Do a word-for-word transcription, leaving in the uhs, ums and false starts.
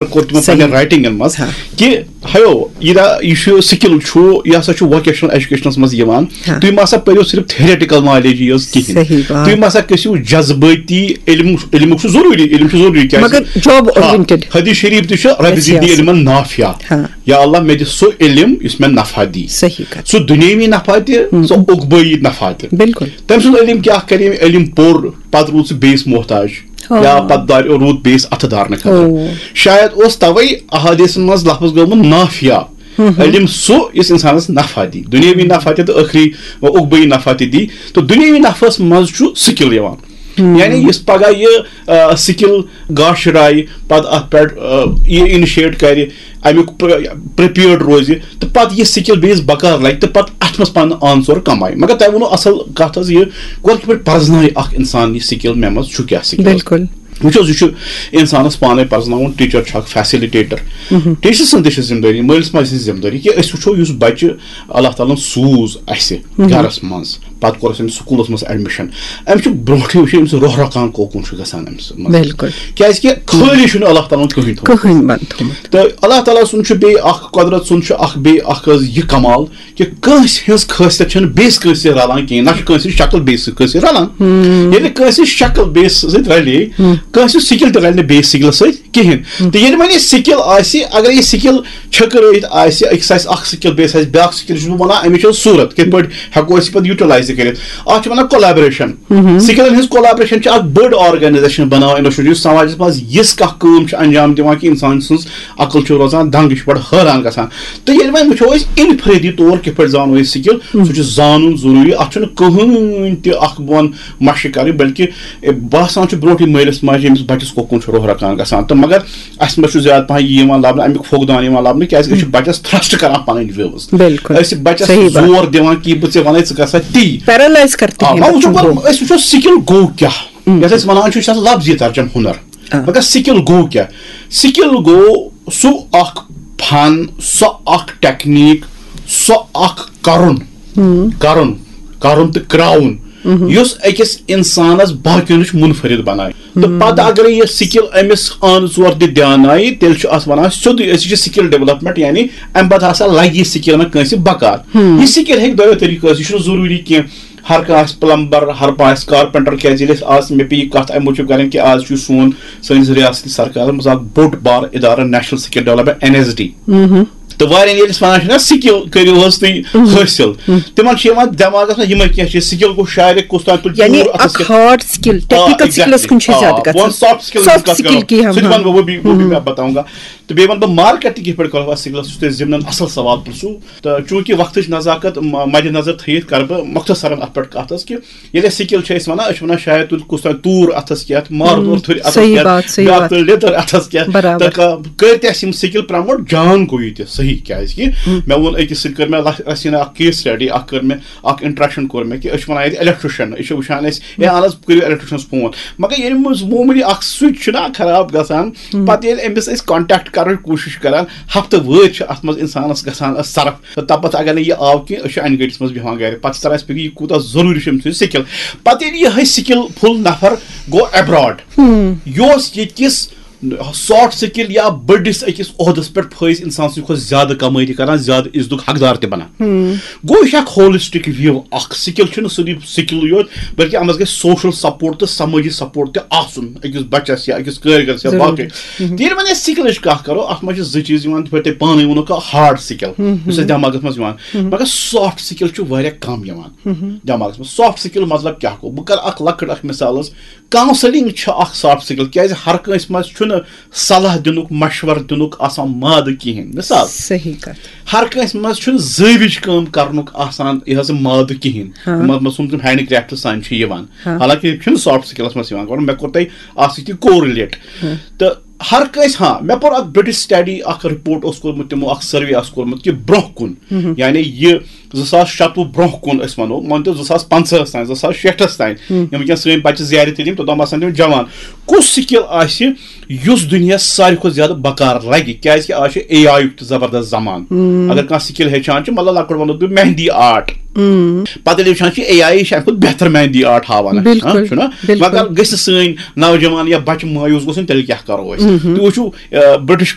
کوٚر تِمو پننٮ۪ن رائٹنگن منٛز، ہاں۔ کہِ ہیو، یہِ دا-، یہِ چھُ سکل چھُ، یہِ ہسا چھُ ووکیشنل ایجوکیشنس منٛز یِوان۔ ہاں۔ تُہۍ ما سا پٔرِو صرف تھیوریٹیکل نالیج یٲژ کِہینۍ۔ صحیح بات۔ تُہۍ ما سا گٔژھِو جذبٲتی علم، علمُک چھُ ضروٗری، علم چھُ ضروٗری، کیازِ مگر job ہاں، oriented۔ حدیث شریف تہِ چھُ، رب یَس زِدنی یَس۔ علماً نافعہ۔ ہاں۔ یا اللہ، مےٚ دِ سُہ علم یُس مےٚ نفع دی۔ صحیح کتھ۔ سُہ دُنیٲوی نفع تہِ، ہم۔ سُہ عقبٲیی نفع تہِ۔ بالکل۔ تٔمۍ سُنٛد علم کیٛاہ کرِ؟ ییٚمۍ علم پوٚر، پتہٕ روٗد سُہ بیٚیِس محتاج۔ ہاں۔ یا پتہٕ دار-، روٗد بیٚیِس اَتھٕ دارنہٕ خٲطرٕ۔ او۔ شاید اوس توے احادیثن منٛز لفظ گوٚمُت نافیہ۔ ہم ہم۔ علم سُہ یُس انسانس نفع دی، دُنیٲوی نفع تہِ تہٕ ٲخری عقبٲیی نفع تہِ دی۔ تہٕ دُنیٲوی نفعس منٛز چھُ سکل یِوان۔ ہم۔ یعنی یُس پگاہ یہِ، آ، سکل گاشہِ راوِ، پتہٕ اتھ پٮ۪ٹھ، آ، یہِ انیشیٹ کرِ، امیُک پریپیئرڈ روزِ، تہٕ پتہٕ یہِ سکل بیٚیِس بکار لگہِ تہٕ پتہٕ اتھ منٛز پنُن آنسر کمایہِ۔ مگر تۄہہِ ووٚنوٕ اصل کتھ حظ، یہِ گۄڈٕ کِتھ پٲٹھۍ پرزنایہِ اکھ انسان یہِ سکل، مےٚ منٛز چھُ کیٛاہ سکل؟ بالکل۔ وٕچھ حظ، یہِ چھُ انسانس پانے پرزناوُن، ٹیچر چھُ اکھ فیسلٹیٹر۔ مہم۔ ٹیچر سٕنٛز تہِ چھِ ذمہٕ دٲری، مٲلِس ماجہِ سٕنٛز ذمہٕ دٲری کہِ أسۍ وٕچھو یُس بچہِ اللہ تعالیٰ ہن سوٗز اسہِ مہم۔ گرس منٛز، پتہٕ کوٚر اسہِ أمِس سکوٗلس منٛز ایڈمِشن، أمِس چھُ برونٛٹھٕے وٕچھُن أمِس روح رکان کوکُن چھُ گژھان أمِس منٛز۔ بالکل۔ کیازِ کہِ خٲلی چھُنہٕ اللہ تعالیٰ ہن کٕہٕنۍ تھوٚومُت۔ کٕہٕنۍ بنٛد تھوٚومُت۔ تہٕ اللہ تعالیٰ سُنٛد چھُ بیٚیہِ اکھ، قۄدرت سُنٛد چھُ اکھ بیٚیہِ اکھ حظ یہِ کمال کہِ کٲنٛسہِ ہٕنٛز خٲصیت چھَنہٕ بیٚیِس کٲنٛسہِ سۭتۍ رلان کِہیٖنۍ، نہ چھِ کٲنٛسہِ ہٕنٛز شکل بیٚیِس کٲنٛسہِ سۭتۍ رلان۔ ہم۔ ییٚلہِ کٲنٛسہِ ہٕنٛز شکل بیٚیِس سۭتۍ رلے، ہم۔ کٲنٛسہِ ہٕنٛز سِکِل تہِ رلہِ نہٕ بیٚیِس سِکلَس سۭتۍ کِہیٖنۍ۔ ہم۔ تہٕ ییٚلہِ وۄنۍ یہِ سِکِل آسہِ، اگر یہِ سِکِل چھٔکرٲیِتھ آسہِ، أکِس آسہِ اَکھ سِکِل، بیٚیِس آسہِ بیٛاکھ سِکِل، یہِ چھُس بہٕ وَنان، اَمِچ چھےٚ صوٗرت، کِتھ پٲٹھۍ ہٮ۪کو أسۍ یہِ پَتہٕ یوٗٹِلایز تہِ کٔرِتھ۔ اَتھ چھِ وَنان کولیبریشن۔ ہم۔ سِکلَن ہٕنٛز کولیبریشن چھِ اکھ بٔڑ آرگنایزیشن بناوان انسٹیٹیوٹ، یُس سماجس منٛز یِژھ کانٛہہ کٲم چھِ انجام دِوان کہِ انسان سٕنٛز عقل چھِ روزان دنٛگ، یہِ چھِ بڑٕ حٲران گژھان۔ تہٕ ییٚلہِ وۄنۍ وٕچھو أسۍ انفرٲدی طور کِتھ پٲٹھۍ زانو أسۍ سِکِل، ہم۔ سُہ چھُ زانُن ضروٗری۔ اَتھ چھُنہٕ کٕہٕنۍ تہِ اکھ بہٕ وَنہٕ مَشق کَرٕنۍ، بلکہِ، اے، باسان چھُ برونٛٹھٕے مٲلِس ماجہِ أمِس بَچَس کوکُن چھُ روح رَکان گژھان۔ تہٕ مگر اَسہِ منٛز چھُ زیادٕ پَہَن یہِ یِوان لَبنہٕ، اَمیُک فقدان یِوان لَبنہٕ، کیٛازِکہِ أسۍ چھِ بَچَس تھرٛسٹ کَران پَنٕنۍ وِوٕز۔ بِلکُل۔ أسۍ چھِ بَچَس صحیح بات۔ زور دِوان کہِ بہٕ ژےٚ وَنَے ژٕ کَر سا تی۔ پیرالایز کَر تہِ آ، ہیٚیہِ وۄنۍ وٕچھو بَچُن گوٚو۔ پَتہٕ، أسۍ وٕچھو سِکِل گوٚو کیٛاہ۔ ہم۔ یَتھ أسۍ وَنان چھِ، یہِ چھُ آسان لفظی ترجمہٕ ہُنر۔ آ۔ مگر سِکِل گوٚو کیٛاہ؟ سِکِل گوٚو سُہ اکھ فن، سۄ اکھ ٹیکنیک، سۄ اکھ کرُن، ہم۔ کرُن، کرُن تہٕ کرٛاوُن، مہم۔ یُس أکِس انسانس باقین نِش منفرد بنایہِ۔ تہٕ ہم۔ پتہٕ اگرے یہِ سِکِل أمِس آنہٕ ژور تہِ دھیان آیہِ، تیٚلہِ چھُ اتھ ونان سیوٚدُے، أسۍ چھِ سِکِل ڈیولپمنٹ، یعنی امہِ پتہٕ ہسا لگہِ یہِ سِکِل مےٚ کٲنٛسہِ بکار۔ ہم۔ یہِ سِکِل ہیٚکہِ دۄیو طریٖقو ٲسِتھ، یہِ چھُنہٕ ضروٗری کینٛہہ ہر کانٛہہ آسہِ پلمبر، ہر کانٛہہ آسہِ کارپینٹر، کیازِ ییٚلہِ أسۍ آز مےٚ پیٚیہِ یہِ کتھ امہِ موٗجوٗب کرٕنۍ کہِ آز چھُ سون سٲنِس ریاستٕچ سرکارس منٛز اکھ بوٚڑ بار ادارٕ national skill development, N S D. مہم۔ تہٕ واریاہن ییٚلہِ أسۍ ونان چھِ نا سِکِل کٔرِو حظ تُہۍ مہم۔ حٲصِل، مہم۔ تِمن چھِ یِوان دٮ۪ماغس منٛز یِمے کینٛہہ چیٖز، سِکِل گوٚو شاعرِ کُس تام تُلہِ یعنی تیوٗر اتھس اکھ کیتھ۔ ہارڈ سِکِل، آ، ٹیکنیکل سِکلس exactly۔ کُن چھِ آ، زیادٕ بہٕ گژھان۔ وَنہٕ سافٹ سکلن ہٕنٛز سافٹ کتھ سِکِل کرو۔ کینٛہہ، سُہ تہِ ہاں۔ ونہٕ بہٕ، وہ بھی، وہ بھی ہم۔ میں بتاؤں گا۔ تہٕ بیٚیہِ وَنہٕ بہٕ مارکیٹ تہِ کِتھ پٲٹھۍ کَرو اَتھ سِکلَس، یُس تۄہہِ ضِمنَن اَصٕل سوال پرٛژھوٗ۔ تہٕ چوٗنٛکہِ وقتٕچ نزاکت م-، مَدِ نظر تھٲیِتھ کَرٕ بہٕ مۄختصرن اَتھ پٮ۪ٹھ کَتھ حظ کہِ ییٚلہِ أسۍ سِکِل چھِ أسۍ وَنان، أسۍ چھِ وَنان شاید تُلہِ کُس تام توٗر اَتھَس کیٚتھ، مارٕ ہم، توٗر تھُرِ اَتھَس صحیح کیٚتھ، بات، صحیح بیٛاکھ بات۔ تُلہِ لیٚدٕر اَتھَس کیٚتھ۔ برابر۔ تہٕ کا-، کٔرۍ تہِ اَسہِ یِم سِکِل پرٛموٹ، جان گوٚو یہِ تہِ صحیح، کیٛازِکہِ ہم۔ مےٚ ووٚن أکِس سۭتۍ کٔر مےٚ لَ-، رَژھِ ہنا اَکھ case study اَکھ کٔر مےٚ، اَکھ interaction کوٚر مےٚ کہِ أسۍ چھِ وَنان ییٚتہِ electrician، أسۍ چھِ وٕچھان أسۍ، ہے اَہَن حظ کٔرِو electricianس phone، مگر ییٚلہِ منٛز معموٗلی اَکھ switch چھُنہ خراب گژھان، ہم۔ پَتہٕ ییٚلہِ أمِس أسۍ contact کَرنٕچ کوٗشِش کَران، ہفتہٕ وٲدۍ چھِ اَتھ منٛز اِنسانَس گژھان صرف۔ تہٕ تَپَتھ اگر نہٕ یہِ آو کینٛہہ، أسۍ چھِ اَنہِ گٔٹِس منٛز بیٚہوان گَرِ۔ پَتہٕ چھِ تَران اَسہِ فِکرِ، یہِ کوٗتاہ ضروٗری چھُ أمۍ سٕنٛز سِکِل۔ پَتہٕ ییٚلہِ یِہوٚے سِکِل فُل نفر گوٚو abroad، ہم۔ یہِ اوس ییٚتہِ کِس سافٹ سِکِل یا بٔڑِس أکِس عہدَس پٮ۪ٹھ فٲیِز اِنسان سٕنٛدِ کھۄتہٕ زیادٕ کَمٲے تہِ کَران، زیادٕ عزتُک حقدار تہِ بَنان۔ ہم۔ گوٚو، یہِ چھِ اَکھ holistic view، اَکھ سِکِل چھُنہٕ صرف سِکِلٕے یوت، بلکہِ اَتھ منٛز گژھِ social support تہٕ سمٲجی support تہِ آسُن أکِس بَچَس یا أکِس کٲرۍ گَرَس یا ضروٗری۔ باقٕے۔ ہم۔ تہٕ ییٚلہِ وۄنۍ أسۍ سِکِلٕچ کَتھ کَرو، اَتھ منٛز چھِ زٕ چیٖز یِوان، یِتھ پٲٹھۍ تۄہہِ پانَے ووٚنوُ کہِ ہارڈ سِکِل، ہم۔ یُس اَسہِ دٮ۪ماغَس منٛز یِوان، ہم۔ مگر سافٹ سِکِل چھُ واریاہ کَم یِوان ہم۔ دٮ۪ماغَس منٛز۔ سافٹ سِکِل مطلب کیٛاہ گوٚو؟ بہٕ کَرٕ اَکھ لۄکٕٹ اَکھ مِثال حظ۔ Counselling چھِ اَکھ سافٹ سِکِل، کیٛازِ ہر کٲنٛسہِ منٛز چھُنہٕ صلاح دِنُک، مشورٕ دِنُک آسان مادٕ کِہیٖنۍ۔ مِثال، صحیح کَتھ۔ ہر کٲنٛسہِ منٛز چھُنہٕ زٲوِج کٲم کَرنُک آسان یہِ حظ مادٕ کِہیٖنۍ۔ ہاں۔ مطلب، سُم تِم ہینڈ کرٛافٹ سان چھِ یِوان۔ ہاں۔ حالانکہِ یہِ چھُنہٕ سافٹ سِکِلَس منٛز یِوان گۄڈٕ، مےٚ کوٚر تۄہہِ اَتھ سۭتۍ تہِ correlate۔ ہاں۔ تہٕ ہر کٲنٛسہِ، ہاں، مےٚ پوٚر اَکھ British study، اَکھ report اوس کوٚرمُت تِمو، اَکھ survey آس کوٚرمُت کہِ برٛونٛہہ کُن، ہم۔ یعنی یہِ زٕ ساس شَتوُہ برونٛہہ کُن أسۍ وَنو، مٲنۍ تو زٕ ساس پنٛژاہَس تام، زٕ ساس شیٹھَس تام، یِم وٕنکیٚن سٲنۍ بَچہِ زیارِ تہِ یِم، توٚتام آسَن تِم جوان۔ کُس سِکِل آسہِ یُس دُنیاہَس ساروی کھۄتہٕ زیادٕ بکار لَگہِ؟ کیٛازِکہِ آز چھُ اے آی یُک تہِ زبردست زمانہٕ۔ اگر کانٛہہ سِکِل ہیٚچھان چھُ، مطلب لۄکُٹ وَنو تُہۍ مہندی آرٹ، پَتہٕ ییٚلہِ وٕچھان چھُ اے آی چھِ اَمہِ کھۄتہٕ بہتر مہندی آرٹ ہاوان اَسہِ، بِلکُل، ہاں، چھُنہ؟ بِلکُل۔ مگر گٔژھِ سٲنۍ نوجوان یا بَچہِ مایوٗس گوٚژھ نہٕ، تیٚلہِ کیٛاہ کَرو أسۍ؟ تُہۍ وٕچھِو، آ، برٹش